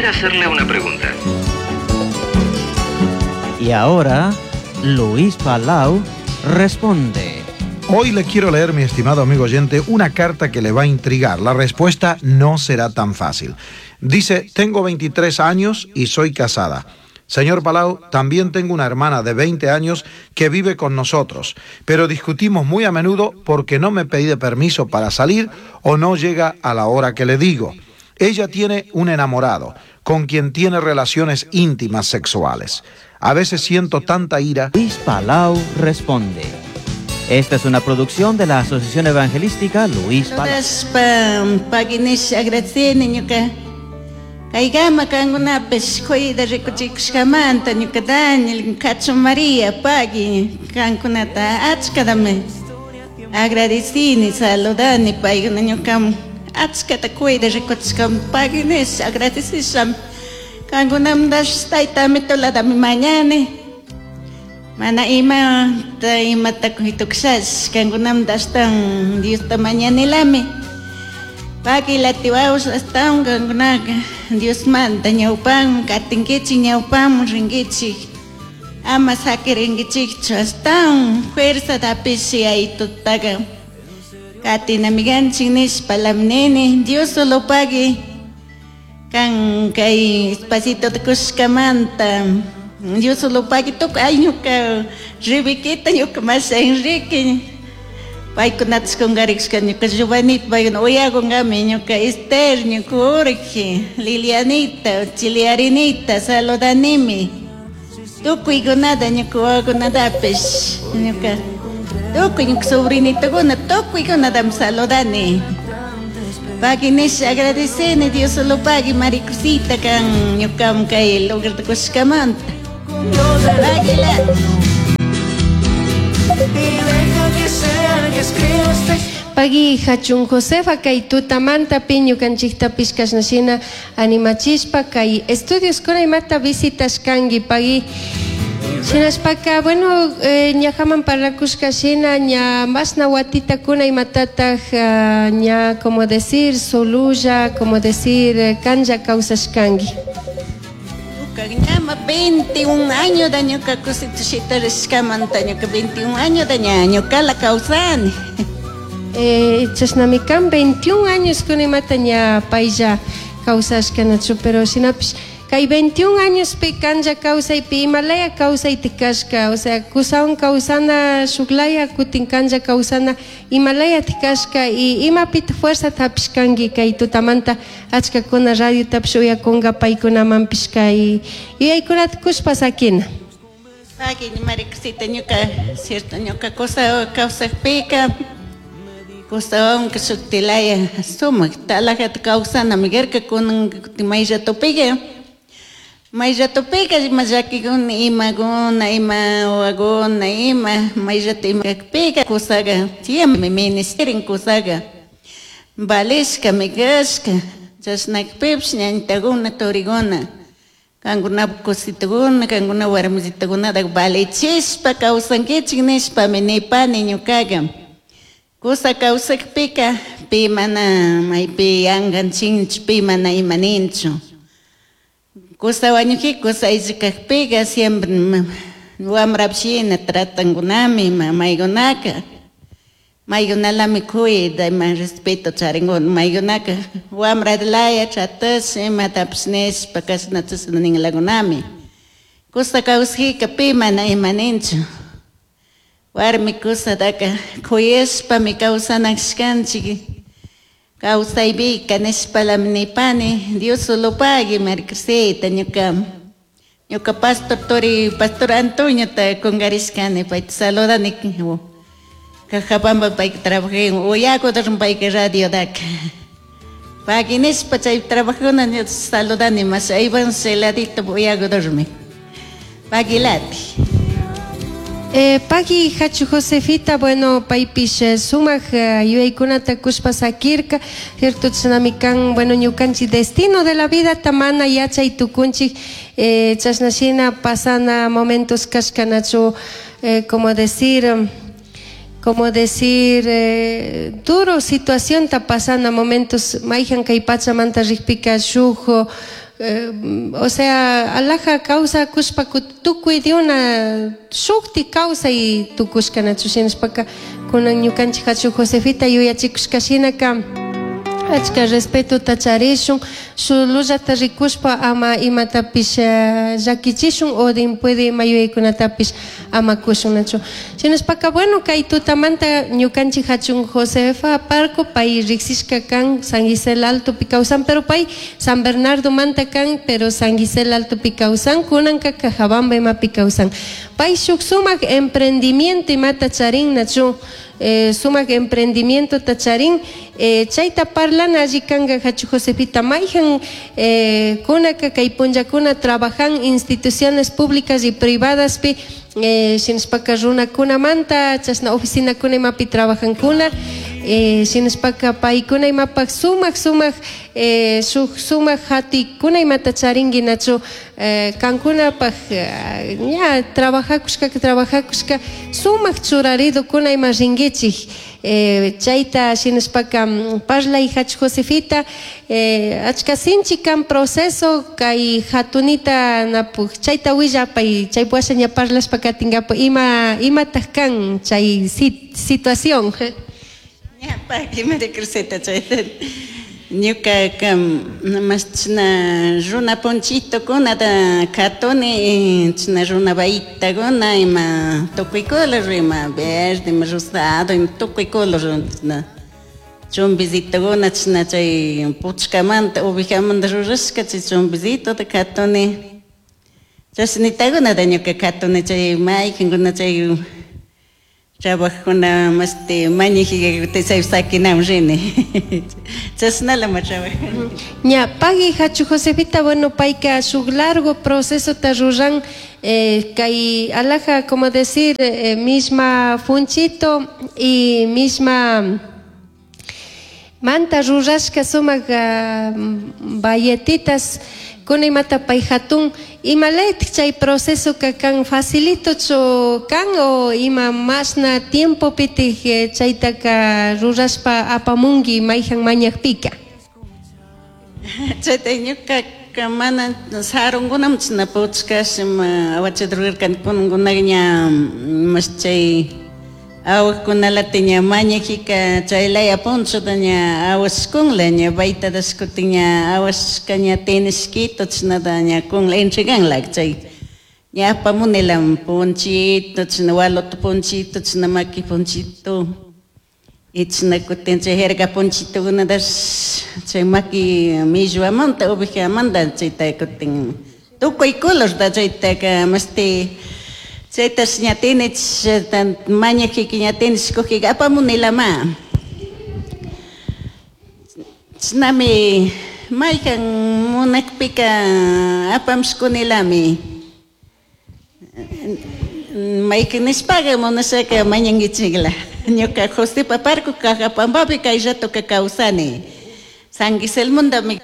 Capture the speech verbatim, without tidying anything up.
Quisiera hacerle una pregunta. Y ahora, Luis Palau responde. Hoy le quiero leer, mi estimado amigo oyente, una carta que le va a intrigar. La respuesta no será tan fácil. Dice, tengo veintitrés años y soy casada. Señor Palau, también tengo una hermana de veinte años que vive con nosotros, pero discutimos muy a menudo porque no me pide permiso para salir o no llega a la hora que le digo. Ella tiene un enamorado con quien tiene relaciones íntimas sexuales. A veces siento tanta ira. Luis Palau responde. Esta es una producción de la Asociación Evangelística Luis Palau. Kaygama kankunapish kuyda rikuchikushkamanta ñuka Daniel Cacho María pagui kankunata achkatami agradecini saludani paykuna ñuka achkata kuyda rikuchishkam pagui nish agradecisham kankunamtash taytami tuladami mañani mana ima imata kuytukshash kankunamta ashtawan Diosta mañanilami. Pagui latiwaos astawan kankunaka Dios manta ñawpan katinkichik ñawpanman rinkichik ama sakirinkichikchu astawan fuerza tapishi aytutaqa katinamikanchik nishpa lamnini Dios solo pagui kan kay espacito kushkamanta Dios solo pagui tukuy ay ñuka Rebequita ñuka masha Enrique paykunatash kunkarikushka ñuka Giovanita paykuna uyakunkami ñuka Esther ñuka Jorge Lilianita Chiliarinita saludanimi tukuykunata ñuka wawakunatapish ñuka tukuy ñuka sobrinitukuna tukuykunatami saludani. Pagui nish agradeceni Dios solo pagui Maricruzita kan ñukam kay lugarta kushkamanta. Paguila. Pagui hachun Josefa kay tutamanta ñukanchiktapish kashnashina animachishpa kay estudios kuna imata visitashkanki pagui shinashpaka bueno eh, ñajaman parlakushka shina ña mashna watitakuna imatataq uh, ña como decir solulla como decir kanja kawsashkanki. Ñama veintiún años da ñuka kusitushita rishkamanta ñuka veintiún años da ña ñukala kawsani. Eh, chashnami kan veintiún años kunimata ña paylla kawsashkanachu pero shinapish kay veintiún años pi kanja kawsaypi imalaya kawsayti kashka o sea kusawan kawsana shuklaya kutin kanja kawsana imalaya tikashka y imapita fuerza hapishkanki kay tutamanta achkakuna radiotapish uyakunka paykunamanpish kay yuyaykunata kushpa sakina. Pagui Maricruzita ñuka cierto ñuka kusa kawsakpika kusawan shuktilaya sumak talajata kawsanami karka kunan may ratupika may ratupika ima llakikuna imakuna ima wawakuna ima may rato ima kakpika kusaqa siempre ministerin kusaqa valishkami kashka chashnakpipish ñañitakuna turikuna kankunapak kusitukuna kankuna warmisitukunataka valichishpa kawsankichik nishpami nipani ñukaqa kusa kawsakpika pi mana maypi yankanchinchu pi mana imaninchu kusa wañukika kusa ayllu siempre wamrapishina tratankunami maykunaka maykunalami kuyta ima respeto charinkuna maykunaka wamratalaya tratash imatapish nishpa kashna chashna ninlakunami kusa kawsajika pi mana imaninchu warmi kusataka kuyashpami kawsanakashkanchik kawsaypika nishpalami nipani Dios solo pagui Maricruzita ñuka ñuka pastor turi pastor Antonio ta kunkarishkani payta saludani Cajabamba payka trabajé uyakutarun payka radiotaka pagui nishpa chay trabajuna saludani mas aywan celadito uyakutarmi paguilati. Eh, pagui hachu Josefita, bueno, paypish eh, sumak eh, yuyaykunata kushpa sakirka, cierto chashnami kan, bueno, ñukanchik destino de la vida tamana yachay tukunchik, eh, chashnashina pasana momentos kashkanachu, eh, como decir, como decir, eh, duro situación ta pasana momentos mayhan kay pachamanta rikpika shuk eh, o sea alaja kawsakushpa tukuy diuna shukti kawsay tukushka nachu shinashpaka kunan ñukanchik hachu Josefita yuyachikushka shinaka achka respetota charishun shulullata rikushpa ama imatapish llakichishun o puede ima yuyaykunatapish ama kushun nachu shinashpaka bueno kay tutamanta ñukanchik hachun Josefa Parco pay riksishka kan San Gisel Altopi kawsan pero pay San Bernardo manta kan pero San Gisel Altopi kawsan kunanka Cajabamba imapi kawsan pay shuk sumak emprendimiento imata charin nachu eh, sumak emprendimiento tacharin eh, chayta parlana alli kanka hachu Josefita mayjan eh, kunaka kay punllakuna trabajan instituciones públicas y privadas pi eh, shinashpaka runakunamanta chashna oficinakuna imapi trabajankuna eh, shinashpaka paykuna imapak sumak sumak eh, shuk sumak hatikuna imata charinki nachu eh, kankunapak eh, ña trabajakushka trabajakushka sumak churaridukuna ima rinkichik eh, chayta shinashpaka parlay hachu Josefita eh, achka sinchi kan proceso kay hatunita napuk chayta willapay chay washa ña parlashpa katinkapak ima imataq kan chay situación. Ña paki María Cruceta chayta ñuka mas china runa ponchitokuna katuni china runa bayitakuna ima tukuy color ima verde ima rosado ima tukuy color china chumbisitokuna china chay puchkamanta ovejamanta rurashka chay chumbisitota katuni chashnitakuna ñuka katuni chay maykankuna chay trabajuna masti mañajiga chay sakinam rini chashnala ma trabajani. Ña pagui hachu Josefita bueno payka shuk largo proceso ta ruran eh, kay alaja como decir eh, misma funchito y misma manta rurashka sumak uh, bayetitas kuna imata pay hatun imalaytik chay proceso ka kan facilitochu kan o ima mashna tiempopitik chaytaka rurashpa apamunki mayjan mañakpika. Chayta ñukaka mana sarunkunam china puchkash ima awachata rurarkani kunankunaka ña mas chay awaqkunalata ña mañajika chaylaya punchuta ña awashkunla ña baytatash kutin ña awashka ña tenishkito chinata ña kunla entreganla chay ña apamunila ponchito china waloto ponchito china maki ponchito y china kutin chay jerga ponchitokunatash chay maki millwamanta ovejamanta chayta kutin tukuy colorta chaytaka masti chaytash ña tinich mañajika ña tinishkujika apamunilama chinami maykan munakpika apamshkunilami maykan nishpaga munashaka mañankichikla ñuka Josefa Parco Cajapampapi kay ratoka kawsani San Giselmundami